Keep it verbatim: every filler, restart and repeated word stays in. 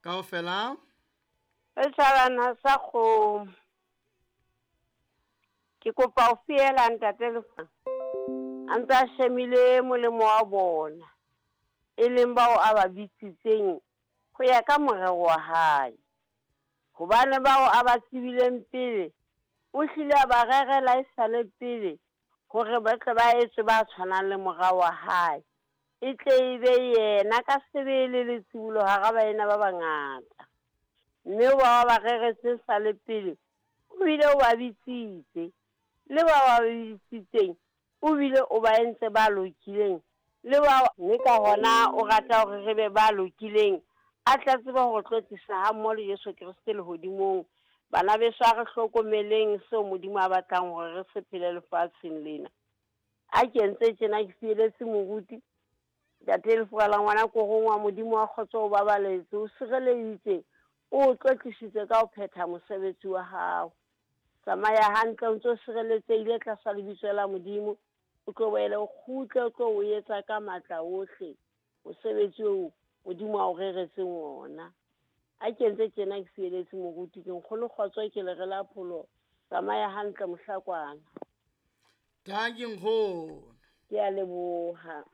Kaofela. Setjhabana sa kgomo. Ke kopa ho fiela ntate Lefa. A ntse a shemile molemo wa bona, e leng bao a ba bitsitseng ho ya ka morero wa hae. Hobane bao a ba tsebileng pele, o hlile a ba rerela esale pele hore ba tle ba etswe ba tshwanang le mora wa hae. E tle e be yena ka sebele letsibolo hara baena ba bangata. Mme bao ba reretse sale pele, o bile o ba bitsitse. Le ba ba bitsitseng, o bile o ba entse ba lokileng. Le ba mme ka hona o rata hore re be ba lokileng, a tla tseba hore tlotlisa ha mmoho le Jesu Kreste lehodimong. Bana beso, a re hlokomeleng seo Modimo a batlang hore re se phele lefatsheng lena. A ke entse tjena ke fieletse moruti. Ntate Lefuka la ngwana korong wa Modimo wa kgotso o babaletse, o sireleditse, o tlotlisitse ka ho phetha mosebetsi wa hao. Tsamaya hantle o ntso sireletsehile tlasa lebitso la Modimo, o tlo boele o kgutle, o tlo o etsa ka matla ohle mosebetsi oo Modimo a o reretseng ona. A ke entse tjena ke fieletse moruti, ke nkgono kgotso, ke le re la pholo. Tsamaya hantle mohlakwana. Dankie nkgono. Ke a leboha.